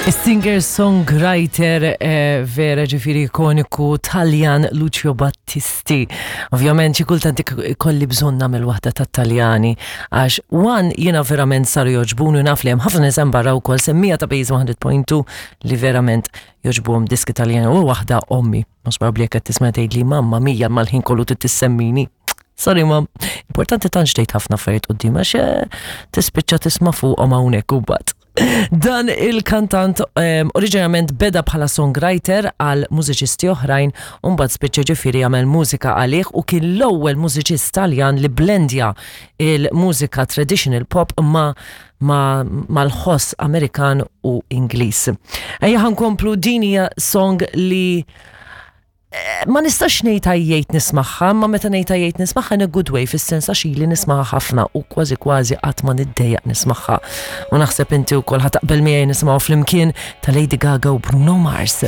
Singer-songwriter eh, vera ġifiri ikoniku Taljan Lucio Battisti. Ovvjament xi kultant ikolli bżonn nagħmel waħda tat-Taljani għax one jiena verament saru joġbuni u naf li hemm ħafna nies hemm barra wkoll semmija ta' Base 100.2 li verament joġbuhom diski Taljani u waħda ommi. Mhux probabbli jekk qed tisma' tgħidli mamma mija mal-ħin kollu trid tissemmini. Sorry mam, importanti tantx tgħid ħafna affarijiet quddiem għax eh, tispiċċa tisma' fuqhom hawnhekk u mbagħad. Dan il-kantant um, oriġinarjament beda bħala songwriter għal mużiċisti oħrajn u mbagħad spiċċa ġifieri jagħmel mużika għalih u kien l-ewwel mużiċist Taljan li blendja il-mużika traditional pop ma' mal-ħoss Amerikan u Ingliż. Ejja ħankomplu din hija song li eh, ma nistax ngħid għajjejt nismagħha, ma meta ngħid għajjejt nismagħha in a good way fis-sens għax ili nismagħha ħafna u kważi kważi qatt ma niddejjaq nismagħha. U naħseb inti wkoll ħa taqbel miegħi nisimgħu flimkien ta' Lady Gaga u Bruno Mars.